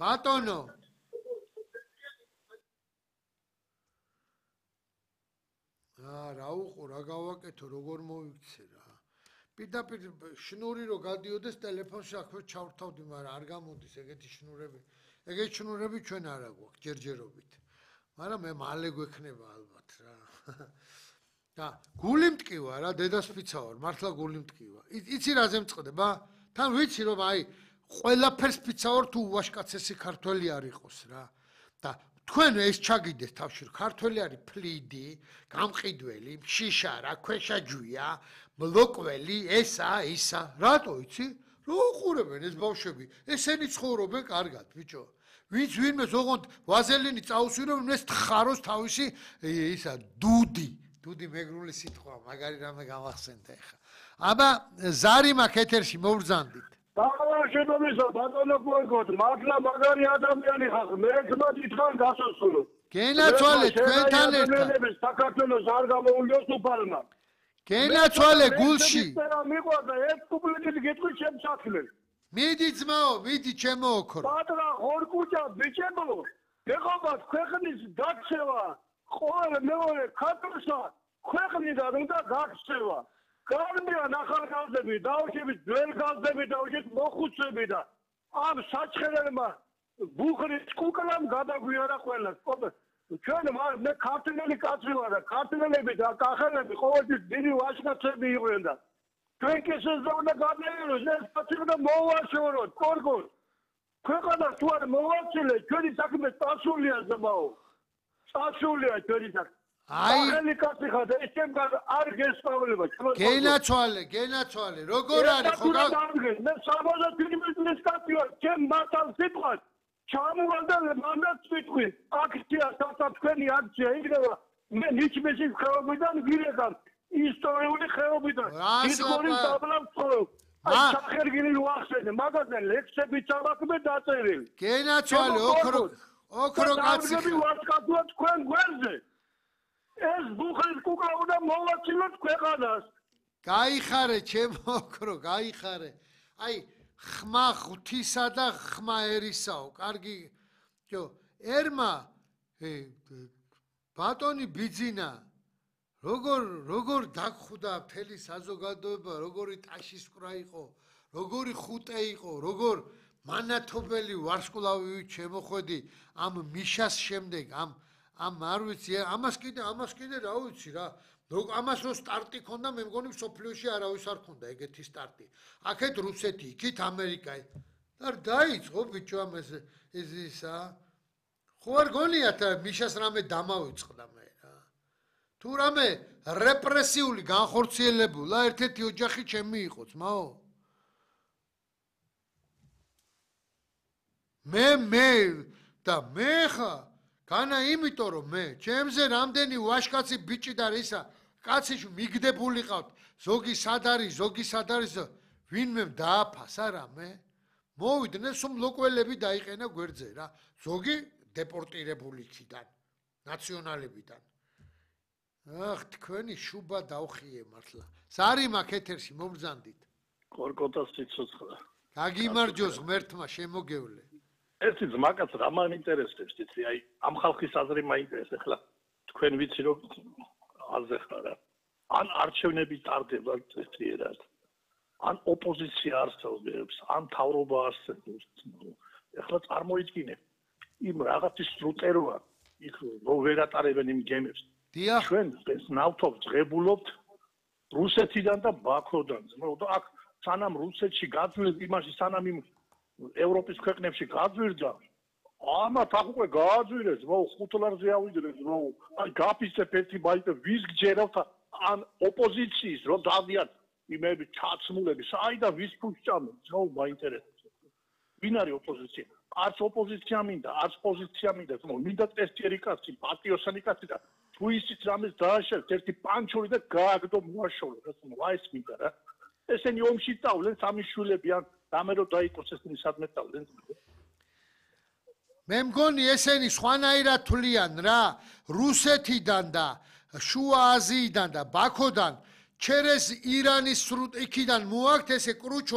ბატონო რა უყო რა გავაკეთო როგორ მოვიქცე რა პირდაპირ შნური რო გადიოდეს ტელეფონში აქვე ჩავრთავდი მაგრამ არ გამოდის ეგეთი შნურები ჩვენ არ აგვაქვს ჯერჯერობით მაგრამ მე მალე გვექნება ალბათ რა და გული მტკივა რა დედასფიცა ვარ მართლა გული მტკივა იცი რაზე მწყდება თან ვიცი რომ აი ყველაფერს ფიცა ვარ თუ უაშკაცესი ქართველი არ იყოს რა და თქვენ ეს ჩაგიდეს თავში ქართველი არის ფლიდი გამყიდველი შიშარა ქვეშაჯვია მლოკველი ესა ისა რატო იცი რო უყურებენ ეს ბავშვები ესენი ცხოვრობენ კარგად ბიჭო ვინც ვინმეს ოღონდ ვაზელინი წაუსვირებენ ეს თხაროს თავისი ისა დუდი მეგრული სიტყვა მაგარი რამე გამახსენდა ეხა აბა ზარი მაქვს ეთერში მოვბრძანდით ბავშვებისა ბატონო გოგოთ მართლა მაგარი ადამიანი ხარ მე ძმადი თან გასასწრო გენაცვალე თქვენთან ერთად საქართველოს არ გამოულიოს უფალმა გენაცვალე გულში მიყვარდა ეს კუპლეტი გეტყვი შემსახლე მიდი ძმაო მიდი ჩემო ოქრო პატრა ხორკუჭა ბიჭებო ეხობა ქვეყნის დაქცევა ყოველ მეორე ქართულსა ქვეყნიდან უნდა გაქცევა გარბიან ახალგაზრდები დაუშვებით ძველ გაზრდები დაუშვით მოხუცები და ამ საჩხერებმა ბუხრის კუკლამ გადაგვიარა ყველა ჩვენ მე ქართველი კაცი ვარ და ქართველები და კახელები ყოველთვის დიდი ვაჟკაცები იყვნენ და ჩვენ კი შეძლებდა გადაიეროს ეს კაცი და მოვაშოროთ კორგოს ქვეყანა თუ არ მოვაცილე ჩვენი საქმე წასულია ზმაო წასულია ჩვენი საქმე აი კაცი ხარ და ეს ჩემგან არ გესწავლება გენაცვალე როგორ არის ხო მე 75 წლის კაცი ვარ ჩემ მართალ სიტყვას ჩამოვარდა მანდაც ვიტყვი აქცია თქვენი აქცია იქნება მე ნიჩმესის ხეობიდან ვირეკავ ისტორიული ხეობიდან ისტორიული დაბლავ ცხოვრობ აი სახერგილი ვახსენე მაგაზე ლექსები წავაქმე დაწერილი გენაცვალე ოქრო კაცი ვარსკაცუა თქვენ გვერდზე ეს ბუხრის კუკლა უნდა მოვაცილოთ ქვეყანას გაიხარე ჩემო ოქრო გაიხარე აი ხმა ღვთისა და ხმა ერისაო კარგი ერმა ბატონი ბიძინა როგორ დაგხვდა მთელი საზოგადოება როგორი ტაშისკვრა იყო როგორი ხუტე იყო როგორ მანათობელი ვარსკვლავი შემოხვედი ამ მიშას შემდეგ ამ არ ვიცი ამას კიდე რა ვიცი რა ამას რო სტარტი ქონდა მე მგონი სოფლიოში არავის არ ქონდა ეგეთი სტარტი აქეთ რუსეთი იქით ამერიკა და დაიწყო ბიჭო ამ ეს ისა ხო არ გონიათ მიშას რამე დამავიწყდა მე რა თუ რამე რეპრესიული განხორციელებულა ერთ-ერთი ოჯახი ჩემი იყო ძმაო მე ხა განა იმიტომ რომ მე ჩემზე რამდენი ვაშკაცი ბიჭი და ისა კაცი მიგდებული ყავთ ზოგი სად არის ვინმე დააფასა რამე მოვიდნენ სულ ლოკველები დაიყენა გვერდზე რა ზოგი დეპორტირებული იქიდან ნაციონალებიდან ახ თქვენი შუბა დავხიე მართლა ზარი მაქვს ეთერში მომბრძანდით კორკოტას სიცოცხლე გაგიმარჯოს ღმერთმა შემოგევლე ერთი ძმაკაც რა მაინტერესებს იცი აი ამ ხალხის აზრი მაინტერესებს ახლა თქვენ ვიცი რომ აზე ხარ ან არჩევნები ტარდება ერთად ან ოპოზიცია არსებობს ან თავრობა არსებობს ახლა წარმოიდგინე იმ რაღაცის სტრუქტურა იქ რო ვერ ატარებენ იმ გემებს ჩვენ ეს ნავთობს ღებულობთ რუსეთიდან და ბაქოდან და აქ სანამ რუსეთში გაძლევ იმაში სანამ იმ ევროპის ქვეყნებში გაძვირდა ამათ აქ უკვე გააძვირეს მოუ 5 ლარზე ავიდრეს მოუ აი გაფიცებ ერთი ბაიტა ვის გჯერავთ ან ოპოზიციის რომ დავდიათ იმები ჩაცმულები საიდან ვის ფუშჭამენ მოუ მაინტერესებს ვინ არის ოპოზიცია არც ოპოზიცია მინდა არც პოზიცია მინდა მოუ მინდა ტესტიერი კაცი პატიოსანი კაცი და თუ ისიც რამეს დააშევთ ერთი პანჩური და გააგდო მოაშორე რა მოუ ეს მინდა რა ესენი ომში წავლენ სამი შვილები ან რამე რო დაიყოს ესენი სადმე წავლენ მე მგონი ესენი სხვანაირად თვლიან რა რუსეთიდან და შუა აზიიდან და ბაქოდან ჩერეს ირანის იქიდან მოაქვთ ესე კრუჩ